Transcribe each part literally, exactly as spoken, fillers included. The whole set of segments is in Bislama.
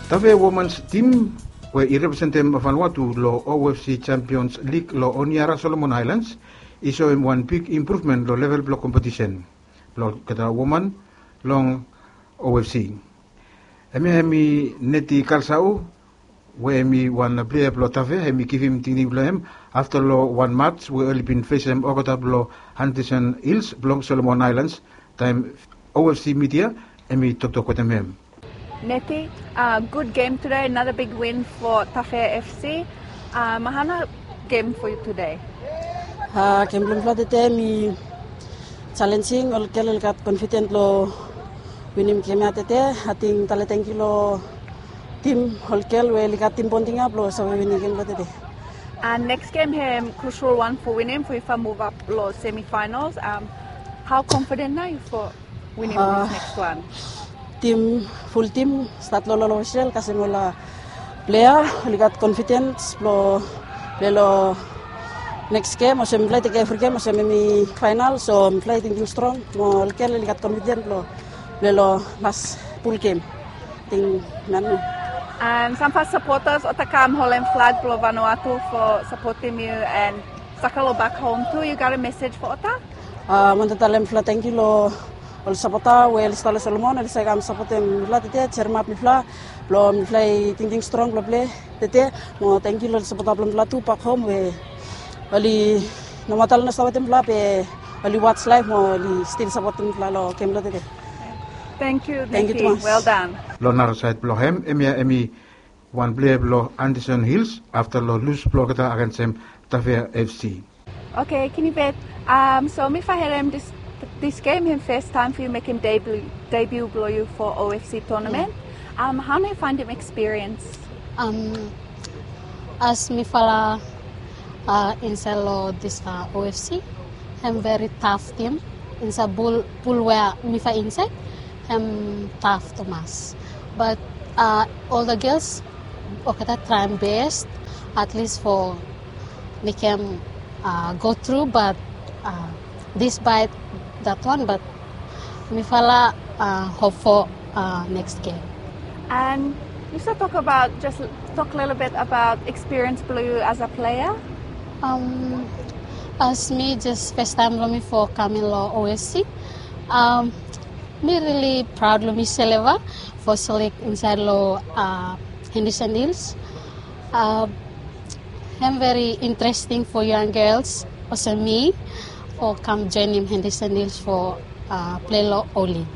Tafea Womans tim we i representem Vanuatu lo O F C Champions League lo Honiara Solomon Islands i soem wan big impruvmen lo level blo kompetisen blo olgeta woman long O F C. Hemia hemi Neti Kalsau, we hemi wan plea blo Tafea, hemi givim tingting blo hem afta lo wan mats we oli bin fesem olgeta blo Henderson Hills blo Solomon Islands, taem O F C midia hemi toktok wetem hem. Neti, uh, good game today, another big win for Tafea F C. Um, hana game for you today? Uh, game blo mifala tede hemi challenging, ol gel oli gat confident lo winim game ia tede. Ating tale tangkiu lo tim, ol gel we oli gat tim bonding ia blo save winim game blo tede. And next game hem crucial one for winim for if I move up lo semifinals. Um, how confident are you for winim this next one? Tim, ful tim, stat lo lolo wesel kasem ol plea oli gat confidence blo plei lo next game olsem mifala i tekem evri game olsem hemi final, so mifala i tingting strong mo ol gel oli gat confidence blo plei lo las ful game. Ting nanu. And samfala supporters olgeta kam holem flag blo Vanuatu for supporting you and soccer lo back home too. You got a message for olgeta? Uh, mi wantem talem mifala tangkiu lo ol sapota we oli stap lo Solomon, oli save kam sapotem mifala tede, jeremap mifala blo mifala i tingting strong blo plei tede. Mo tangkiu lo ol sapota blo mifala tu back home we oli, nomata oli no stap wetem mifala be oli watch live mo oli stil sapotem mifala lo game blo tede. Tangkiu, Neti. Tangkiu tumas. Well done. Lo nara saed blo hem, hemia hemi wan plea blo Henderson Hills afta lo lus blo olgeta agensem Tafea F C. Okay, Kinibet. Um, so mifala harem this, this game hem fes taem for you mekem debut, debut blo you for O F C tournament. Um, hao nao you faendem experience? Um, as mifala, uh, insaed lo this, uh, O F C, hem very tough team. Insaed pul, pul we mifala insaed, hem tough tumas. But, uh, ol gels olgeta traem best, at least for mekem, uh, go through, but, uh, despite that one, but mifala, uh, hope for, uh, next game. And yu save tok abaot, jes tok lelebet abaot experience blo yu as a player? Um, as mi jes fes taem blo mi for kaming lo O F C, um, mi rili praod lo mi silva for selek insaed lo, uh, Henderson Hills. Uh, hem very interesting for young girls olsem mi for kam joenem Henderson Hills for, uh, plei lo O-League.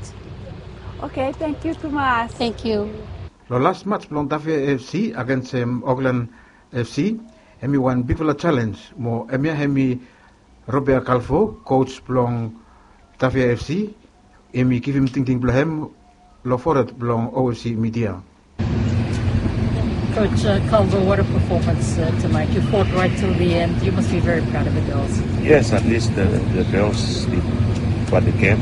Okay, tangkiu tumas. Tangkiu. Lo las mats blong Tafea F C agensem Auckland F C, hemi wan bigfala jalenj mo hemia hemi Robert Kalfo, coach blong Tafea F C, hemi givim tingting blong hem lo fored blong O F C midia. Coach, uh, Calvo, what a performance, uh, tonight. You fought right till the end. You must be very proud of the girls. Yes, at least the, the girls did what they can.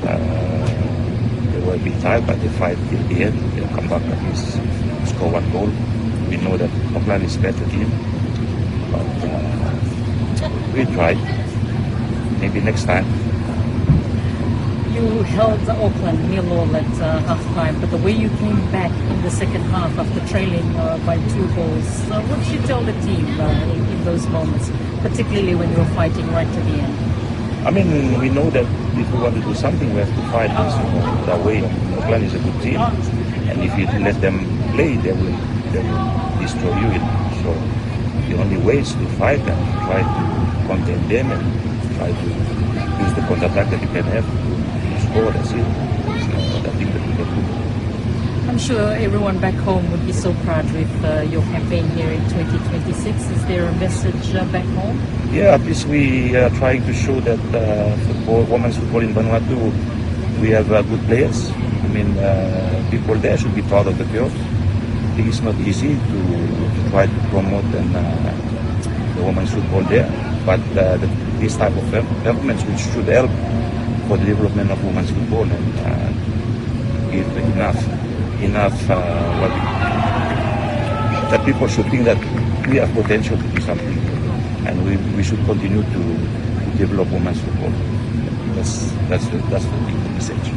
Uh, they were a bit tired, but they fight till the end. They come back at least, score one goal. We know that Auckland is better team, but, uh, we tried. Maybe next time. You held Auckland nil all at, uh, half time, but the way you came back in the second half after trailing, uh, by two goals, uh, what did you tell the team, uh, in, in those moments, particularly when you were fighting right to the end? I mean, we know that if we want to do something, we have to fight. There's no other way. Auckland is a good team, and if you let them play, they will, they will destroy you. So the only way is to fight and try to contain them and try to use the counter-attack that you can have to, to score. That's it. There's no other thing that we can do. I'm sure everyone back home would be so proud with, uh, your campaign here in twenty twenty-six. Is there a message, uh, back home? Yeah, at least we are trying to show that, uh, football, women's football in Vanuatu, we have, uh, good players. I mean, uh, people there should be proud of the girls. It's not easy to, to try to promote and, uh, the women's football there, but, uh, the, this type of em-, developments which should help for the development of women's football and, uh, give enough, enough, uh, what, that people should think that we have potential to do something, and we, we should continue to, to develop women's football. That's, that's the, that's the big message.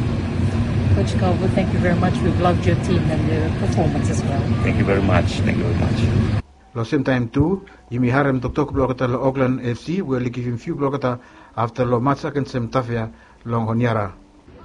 Coach Calvo, thank you very much. We've loved your team and your performance as well. Thank you very much. Thank you very much. Long semtaem tu, yumi harem toktok blong olgeta long Auckland F C we oli givim fiu blong olgeta afta long mats agensem Tafea long Honiara.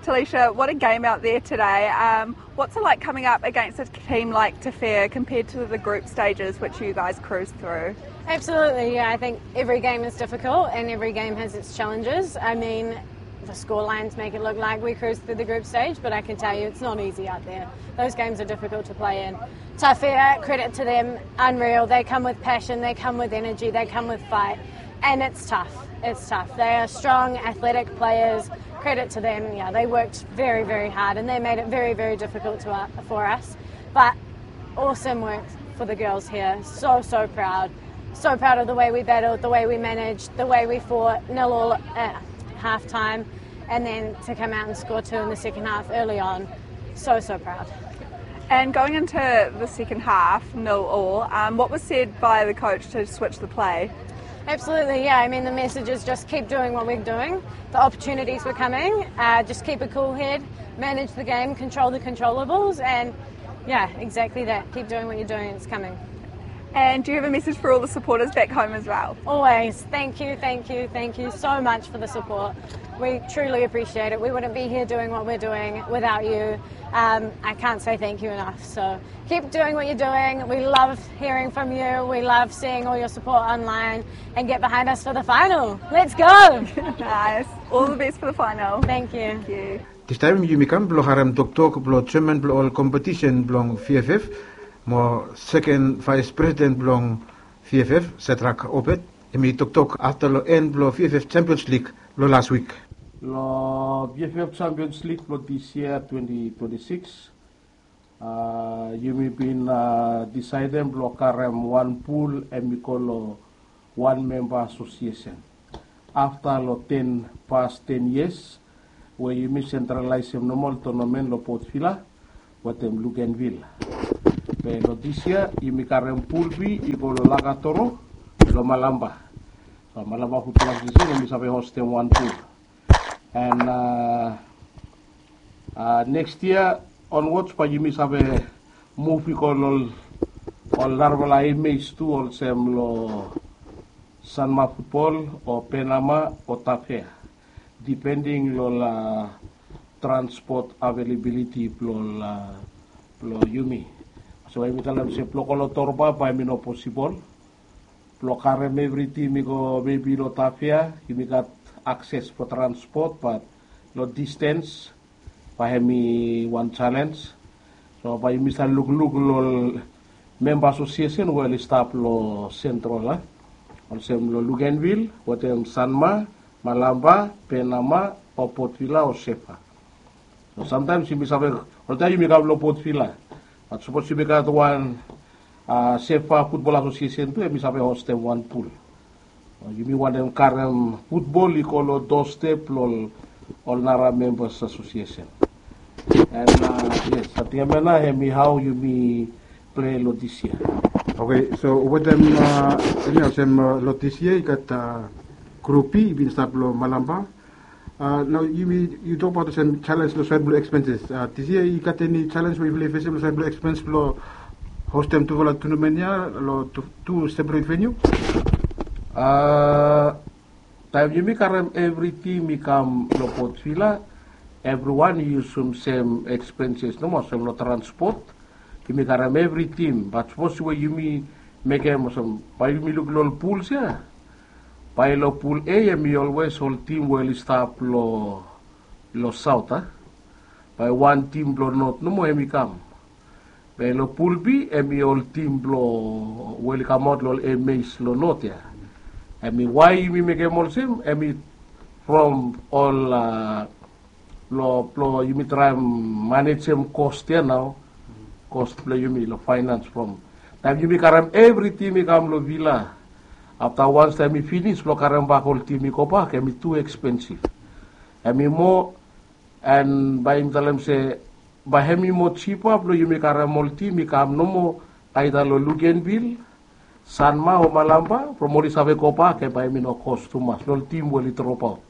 Talisha, what a game out there today. Um, what's it like coming up against a team like Tafea compared to the group stages which you guys cruised through? Absolutely, yeah. I think every game is difficult and every game has its challenges. I mean, the score lines make it look like we cruised through the group stage, but I can tell you it's not easy out there. Those games are difficult to play in. Tafea, credit to them, unreal. They come with passion, they come with energy, they come with fight, and it's tough. It's tough. They are strong, athletic players. Credit to them. Yeah, they worked very, very hard, and they made it very, very difficult to, uh, for us. But awesome work for the girls here. So, so proud. So proud of the way we battled, the way we managed, the way we fought. Nil all at half time, and then to come out and score two in the second half early on. So, so proud. And going into the second half, nil all, um, what was said by the coach to switch the play? Absolutely, yeah. I mean, the message is just keep doing what we're doing. The opportunities were coming. Uh, just keep a cool head, manage the game, control the controllables, and yeah, exactly that. Keep doing what you're doing, it's coming. And do you have a message for all the supporters back home as well? Always. Thank you, thank you, thank you so much for the support. We truly appreciate it. We wouldn't be here doing what we're doing without you. Um, I can't say thank you enough. So keep doing what you're doing. We love hearing from you. We love seeing all your support online. And get behind us for the final. Let's go! Nice. All the best for the final. Thank you. Thank you. Distaem yumi kam blong harem toktok blong jeaman blong ol kompetisen blong V F F mo seken vaes presiden blong V F F, Shadrack Obed. Hemi toktok afta long en blong V F F Champions League long las wik. Long V F F Champions League blong dis yia twenty twenty-six, a, yumi bin, a, disaedem blong karem wan pul hemi go long wan memba asosiesen. Afta long ten, pas ten yias we yumi sentralaesem nomo ol tonamen long Port Vila wetem Luganville. Be long dis yia yumi karem pul B i go long Lakatoro long Malampa. So Malampa Futbol Asosiesen hemi save hostem wan pul. And, a, a, next year onwards bae yumi save muv i go long ol narafala A maze tu, olsem long Sanma Futbol o Penama o Tafea, depending long, a, transport availability blong, a, blong yumi. So yumi talem se blong go long Torba bae hemi no posibol. Blong karem evri tim i go maybe long Tafea, yumi gat akses for transport, but long distance bae hemi wan challenge. So bae yumi save lukluk long memba asosiesen we oli stap long Central, a, olsem long Luganville wetem Sanma, Malampa, Penama o Port Vila o Sefa. So samtaems yumi save, oltaem yumi kam long Port Vila. Bat sapos yumi gat wan, a, Sefa Futbol Asosiesen tu, hemi save hostem wan pul. Yumi wantem karem futbol i go long dostep blong ol nara membas asosiesen. And, a, yes, ating hemia nao hemi hao yumi plei long dis yia. Oke, so wetem, a, hemia olsem, a, long dis yia i gat, a, Grup B i bin stap long Malampa. A, nao yumi, yu tokbaot olsem jalenj long saed blong ekspenses. A, dis yia i gat eni jalenj we yufala i fesem long saed blong ekspens blong hostem tufala tonamen ya long tu, tu separet veniu? A, taem yumi karem evri tim i kam long Port Vila, evriwan i yusum sem ekspenses nomo, olsem long transpot. Yumi karem evri tim, bat sapos we yumi mekem olsem, bae yumi luk long ol puls ya. Bae long pul A hemi olwes ol tim we oli stap long, long saot, a. Bae wan tim blong not nomo hemi kam. Be long pul B hemi ol tim blong we oli kamaot long ol A maze long not ya. Hemi wae yumi mekem olsem, hemi from ol, a, blong, blong yumi traem manejem kos ya nao. Kos blong yumi long faenans from taem yumi karem evri tim i kam long Vila. Afta wans taem i finis blong karem bak ol tim i gobak, hemi tu ekspensif. Hemi moa, and bae yumi talem se bae hemi moa jipa blong yumi karem ol tim i kam nomo aeda long Luganville, Sanma o Malampa, from oli save gobak, and bae hemi no kos tumas long ol tim we oli dropaot.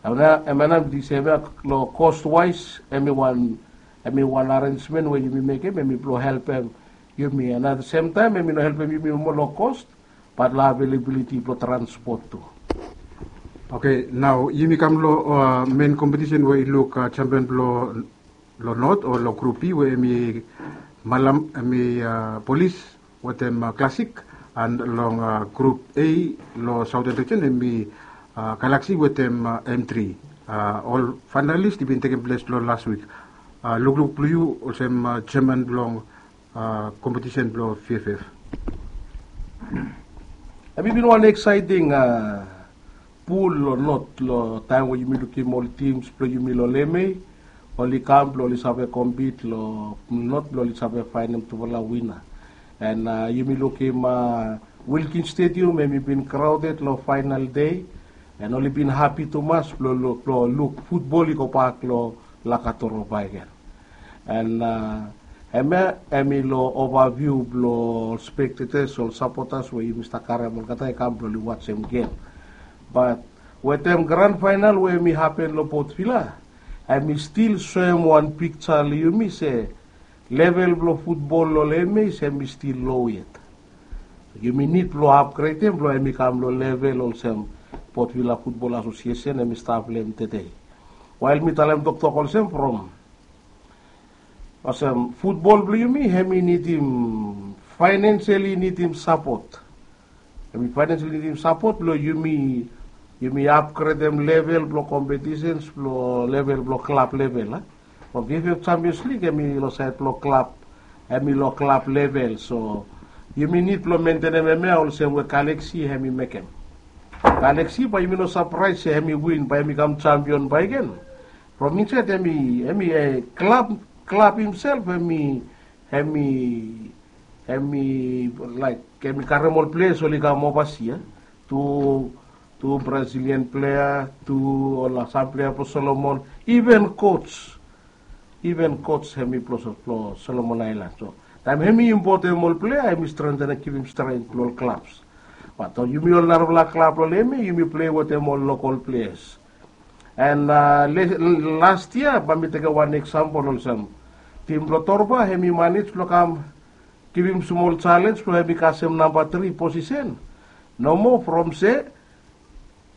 Em ya, em ya nao mi ting se em ya lo cost wise, em i wan, em i wan arrangement we yumi mekem, em i blo helpem yumi. And at the same time, em i no helpem yumi moa lo cost, but lo availability blo transport tu. Okay, nao yumi kam lo uh, main competition we i luk uh, champion blo lo North o lo Group B we em i Malam, em i uh, Police wetem uh, Classic, and long uh, Group A lo Southern Region em i uh, Galaxy wetem uh, M three. Uh, ol finalist i bin tekem ples lo last week. Uh, lukluk blo yu olsem uh, chairman blong uh, competition blo V F F. Em i bin wan exciting uh, pool lo North lo taem we yumi lukim ol teams blo yumi lo Lemei oli kam blo oli save compete lo North blo oli save faenem tufala winner. And uh, yumi lukim uh, Wilkins Stadium em i bin crowded lo final day, and oli bin happy tumas blo, blo, blo luk football i go bak lo Lakatoro bakegen. And uh, hemia em i lo overview blo ol spectators, ol supporters we yumi stap karem olgeta i kam blo oli wajem game. But wetem grand final we em i hapen lo Port Vila, em i stil soem wan piksa lo yumi se level blo futbol lo Lemei se em i stil low yet. Yumi nid blo upgradem blo em i kam lo level olsem Port Vila Football Association em i stap lo hem tede. Wael mi talem toktok olsem from olsem futbol blo yumi em i nidim financially nidim support. Em i financially nidim support blo yumi, yumi upgradem level blo competitions blo level blo club level a. From V F F Champions League em i lo saed blo club, em i lo club level. So yumi nid blo mentenem hemia olsem we Galaxy em i mekem. Galaxy bae yumi no sapraes se em i win, bae em i kam champion bakegen. From insaed em i, em i eh, club, club himself em i, em i, em i laek em i karem ol players oli kam oversea. Tu, tu Brazilian player, tu ol sam player blo Solomon, even coach, even coach em i blo, blo Solomon Island. So taem em i importem ol player em i strengthenem, givim strength lo ol clubs. But uh, yumi ol narafala club lo Lemei yumi play wetem ol local players. And uh, last year bae mi tekem wan example olsem, tim blo Torba em i manage blo kam givim smol challenge blo em i kasem namba tri posisen. Nomo from se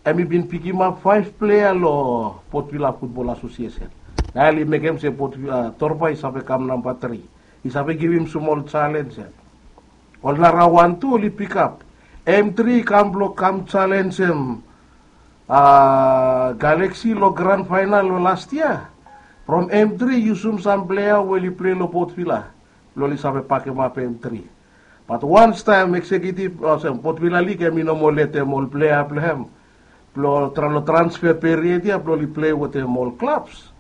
em i bin pikimap faef plea lo Port Vila Football Association. Nao oli mekem se Port Vila, uh, Torba i save kam namba tri. I save givim smol challenge ya. Ol narawan tu oli pikap. M tri i kam blo kam challenge em uh, Galaxy lo grand final lo last year. From M tri i yusum sam plea we oli plei lo Port Vila blo oli save pakemap M tri. But once taem executive olsem Port Vila League em i no moa letem ol plea blo hem blo tra, lo transfer period ya blo oli plei wetem ol clubs,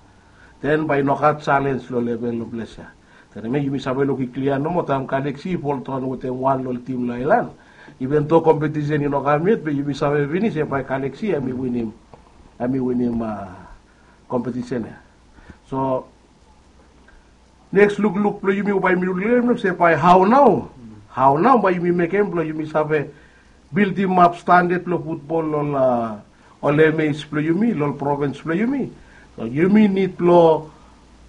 then bae i no gat challenge lo level lo ples ya. Then hemia yumi save luk i klia nomo taem Galaxy i foldaon wetem wan lo ol tim lo aelan. Even though competition i no kam yet be yumi save finis se bae Galaxy em i winim, em i winim uh, competition ya. So neks lukluk blo yumi bae yumi lukluk se bae hao nao, hao nao bae yumi mekem blo yumi save bildimap standard blo futbol lo ol, uh, ol M As blo yumi, lo ol provins blo yumi. So yumi nid blo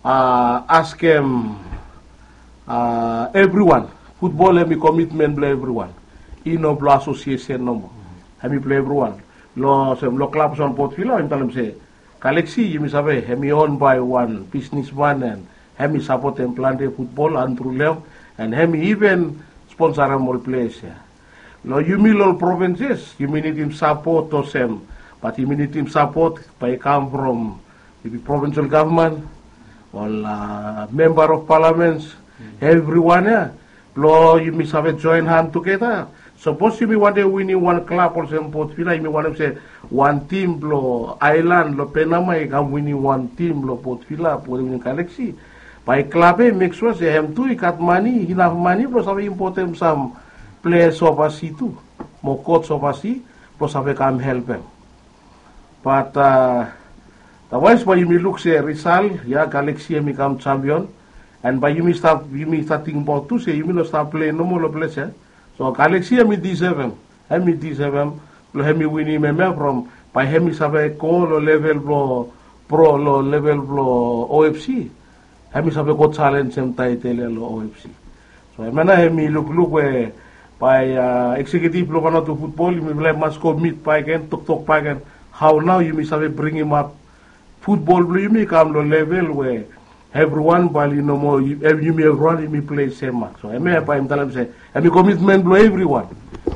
uh, askem uh, evriwan. Futbol em i komitmen blo evriwan. I no blo asosiesen nomo. Em i blo evriwan. Lo olsem lo klab olsem Port Vila em talem se Galaxy, yumi save, hem i own by wan bisnisman and hem i sapotem plante futbol, Andrew Leong, and hem i iven sponsarem ol ples ya. Lo yumi lo ol provinces, yumi nidim sapot olsem, bat yumi nidim sapot bae i kam from maybe provincial government, ol uh, member of parliaments, evriwan ya, blo yumi save joen han tugeta. Sapos yumi wantem winim wan klab olsem Port Vila, yumi wantem se wan tim blo aelan lo Penama i kam winim wan tim blo Port Vila blo winim Galaxy. Bae klab ya i mek sua se hem tu i gat mane, inaf mane blo save impotem sam ples ovasi tu, mo coach ovasi blo save kam helpem. Bat uh, otherwise bae yumi luk se risal ya, Galaxy hem i kam champion. And bae yumi stap, yumi stap tingbaot tu se yumi no stap plei nomo lo ples ya. So Galaxy hem i disevem, hem i disevem blo hem i winim hemia from bae hemi save go lo level blo pro, lo level blo O F C. Hemi save go jalenjem taetel ia lo O F C. So hemia nao hemi lukluk we bae eksekiutiv blo Vanuatu futbol yumi laik mas go mit bakegen, toktok bakegen hao nao yumi save bringimap futbol blo yumi i kam lo level we evriwan bae oli no moa, yumi evriwan yumi plei sem mak. So hemia bae mi talem se hemi komitmen blo evriwan.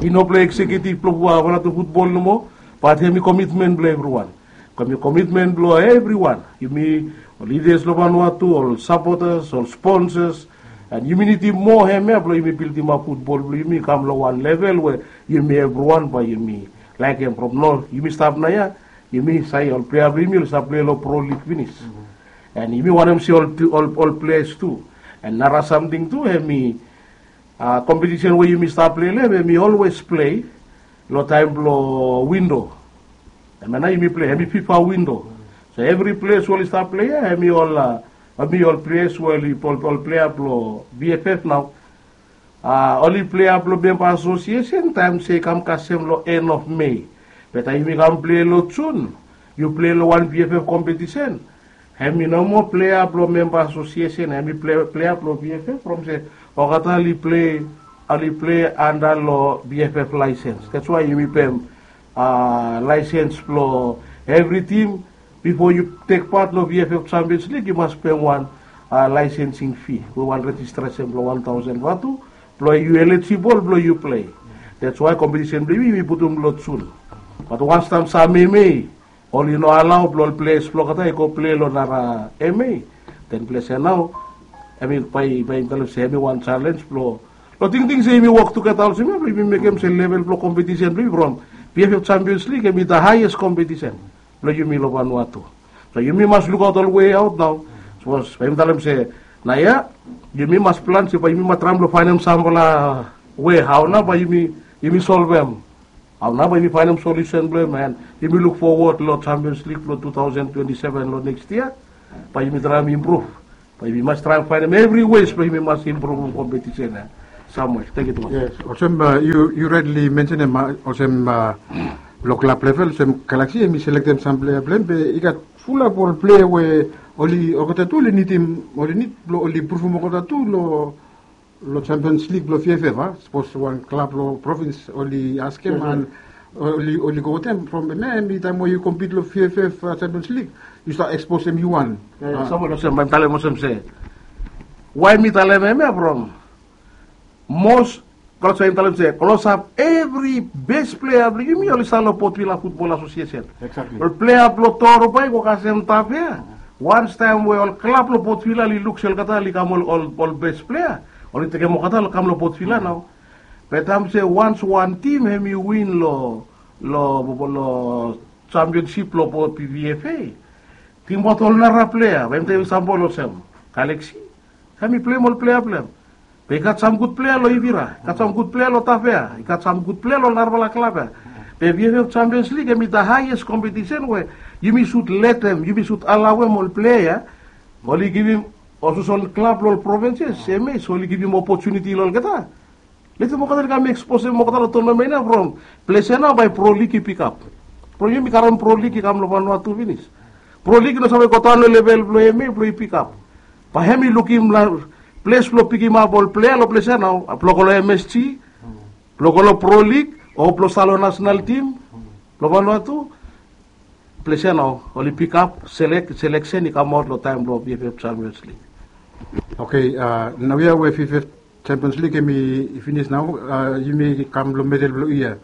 I no blo eksekiutiv blo Vanuatu futbol nomo, bat hemi komitmen blo evriwan. Hemi komitmen blo evriwan. Yumi ol lidas lo Vanuatu, ol sapotas, ol sponsas, and yumi nidim moa hemia blo yumi bildimap futbol blo yumi kam lo wan level we yumi evriwan bae yumi laekem from nao yumi stap naoia. Yumi save ol plea blo yumi oli stap plei lo pro lig finis. And yumi wantem si ol, ol, ol pleas tu. And nara samting tu hemi kompetisen we yumi stap plei lo hem hemi olwes plei lo taem blo windo. Hemia nao yumi plei hemi fifa windo. So evri ples we oli stap plei ia hemi ol, hemi ol ples we oli, ol plea blo V F F nao oli plea blo memba asosiesen taem se i kam kasem lo en of Mei. Be taem yumi kam plei lo Jun yu plei lo wan V F F kompetisen. Hemi no moa plea blo memba asosiesen, hemi plea blo V F F from se olgeta oli plei, oli plei anda lo V F F laesens. That's why yumi pem laesens blo evri tim. Bifo yu tek pat lo V F F Champions League yu mas pem wan laesensing fi we wan rejistresen blo wan taosen vatu blo yu elijibol blo yu plei. That's why kompetisen blo yumi yumi putum lo Jun. Bat wans taem sam M A oli no alao blo ol pleas blo olgeta i go plei lo nara M A, den ples ia nao hemi bae, bae mi talem se hemi wan jalens blo, lo tingting se yumi wok tugeta olsem ia blo yumi mekem se level blo kompetisen blo yumi from V F F Champions League hemi the highest kompetisen blo yumi lo Vanuatu. So yumi mas lukaot ol wei aot nao. Sapos bae yumi talem se naoia yumi mas plan se bae yumi mas traem blo faenem samfala wei hao nao bae yumi, yumi solvem. Hao nao bae yumi faenem solusen blo hem, and yumi luk fowod lo Champions League blo two thousand twenty-seven lo next yia. Bae yumi traem impruv. Bae yumi mas traem faenem evri wes bae yumi mas impruvum kompetisen ia. Samuel, thank you too much. Yes, olsem yu, yu rightly mentionem olsem lo klab level olsem Galaxy hemi selektem sam plea blo hem be i gat fulap ol plea we oli, olgeta tu oli nidim, oli nid blo oli pruvum olgeta tu lo, lo Champions League blo V F F a. Sapos wan klab lo provins oli askem and oli, oli go wetem from hemia hemi taem we yu kompit lo V F F Champions League yu stap eksposem yu wan. Samuel, olsem bae mi talem olsem se wae mi talem hemia from mos klosap, mi talem se klosap evri bes plea blo yumi oli stap lo Port Vila Futbol Asosiesen. Ol plea blo Toro bae i go kasem Tafea. Wans taem we ol klab lo Port Vila oli luk se olgeta oli kam ol, ol bes plea, oli tekem olgeta lo kam lo Port Vila nao. Be taem se wans wan tim hemi win lo, lo, lo championsip lo V F A, tingbaot ol nara plea, bae mi tekem eksampol olsem Galaxy hemi pleim ol plea blo hem. Be i gat sam gud plea lo Ivira, i gat sam gud plea lo Tafea, i gat sam gud plea lo narafala klab ia. Be V F F Champions League hemi the highest kompetisen we yumi sud letem, yumi sud alaoem ol plea ia oli givim, olsem ol klab lo ol provinses, M As, oli givim opotuniti lo olgeta. Letem olgeta oli kam eksposem olgeta lo tonamen ia from ples ia nao bae pro lig i pikap. From yumi karem pro lig i kam lo Vanuatu finis. Pro lig i no save godaon lo level blo M A blo i pikap. Bae hemi lukim ples blo pikimap ol plea lo ples ia nao, blo go lo M S G, blo go lo pro lig, o blo stap lo nasenal tim blo Vanuatu. Ples ia nao oli pikap, selek, seleksen i kamaot lo taem blo V F F Champions League. Okei, naoia we V F F Champions League hemi finis nao, yumi kam lo medel blo yia.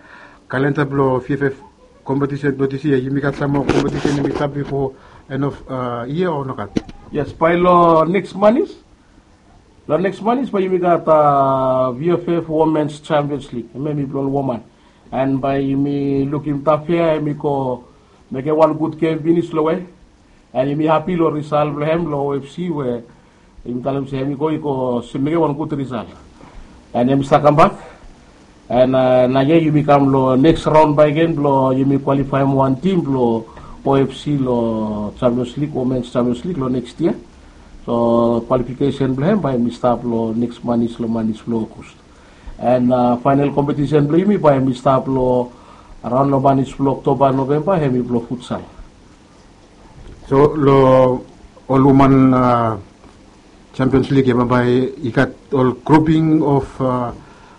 Kalenda blo V F F kompetisen blo dis yia, yumi gat sam moa kompetisen hemi stap bifo en of yia o nogat? Yes, bae lo neks manis, lo neks manis bae yumi gat V F F Womens Champions League, hemia hemi blo ol woman. And bae yumi lukim Tafea hemi go mekem wan gud gem finis lo we, and yumi hapi lo risal blo hem lo O F C we yumi talem se hemi go, i go mekem wan gud risal. And hemi stap kambak. And naoia yumi kam lo neks raon bakegen blo yumi kwalifaem wan tim blo O F C lo Champions League, Womens Champions League lo neks yia. So kwalifikesen blo hem bae hemi stap lo neks manis, lo manis blo Ogos. And faenol kompetisen blo yumi bae hemi stap lo Araon long manis blong Oktoba, Novemba, hemi blong futsal. So long ol woman Champions League ia bambae i gat ol grouping of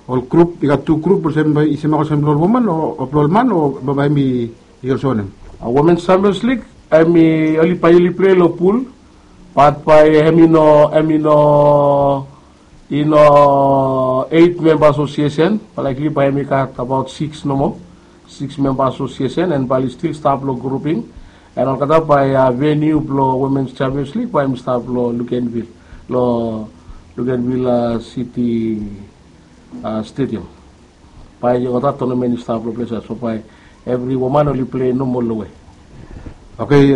ol grup, i gat tu grup olsem i semak olsem blong ol woman o blong ol man o bambae hemi i olsem wanem? Women Champions League hemi oli bae oli plei long pul, bat bae hemi no hemi no i no eit memba asosiesen, bae laikli bae hemi gat abaot sikis nomo, sikis memba asosiesen, and bae oli stil stap long grouping. And olgeta bae veniu blong Women Champions League bae hemi stap long Luganville, long Luganville City Stadium. Bae olgeta tonamen i stap long ples ia, so bae evri woman oli plei nomo long we. Okay,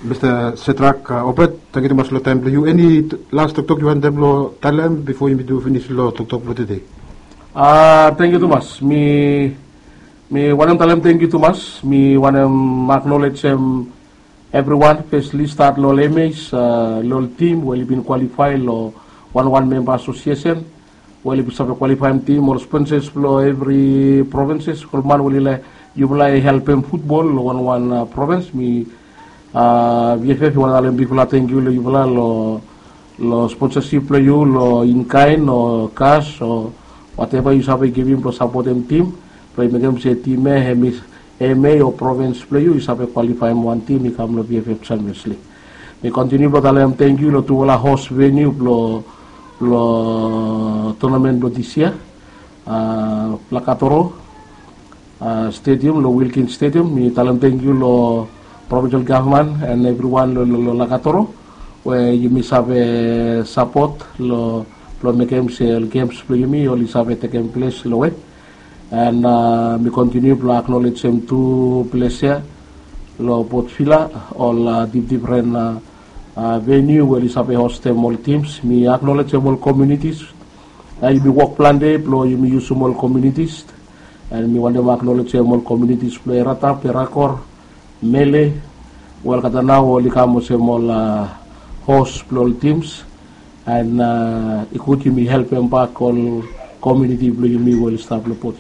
Mista Setrak Obet, tangkiu tumas long taem blong yu. Eni las toktok yu wantem blong talem bifo yumi tu finis long toktok blong tede? Tangkiu tumas. Mi mi wantem talem tangkiu tumas. Mi wantem aknolejem evriwan, espeseli stat long ol emes, long ol tim we oli bin kwalifae long wanwan memba asosiesen, we oli bin save kwalifaem tim, ol sponsas blong evri provinses, ol man we oli laek yufala i helpem futbol long wanwan provins. Mi VFF i wantem talem bigfala tangkiu long yufala long long sponsasip blong yu long inkaen o kas o wateva yu save givim blong sapotem tim, blong i mekem se tim ia hemi eme o provins blong yu i save kwalifaem wan tim i kam long VFF Champions League. Mi kontiniu blong talem tangkiu long tufala hos veniu blong blong tonamen blong dis yia, Lakatoro Stadium, long Wilkins Stadium. Mi talem tangkiu long provinsal gavman and evriwan long Lakatoro we yumi save sapot long blong mekem se ol gems blong yumi oli save tekem ples long we. And mi kontiniu blong aknolejem tu ples ia long Port Vila, ol difdifren veniu we oli save hostem ol tims. Mi aknolejem ol komunitis. Yumi wok plante blong yumi yusum ol komunitis. And mi wantem aknolejem ol komunitis blong Eratap, Erakor, Mele, we olgeta nao oli kam olsem ol hos blong ol tims. And i gud yumi helpem bak ol komuniti blong yumi we oli stap long Port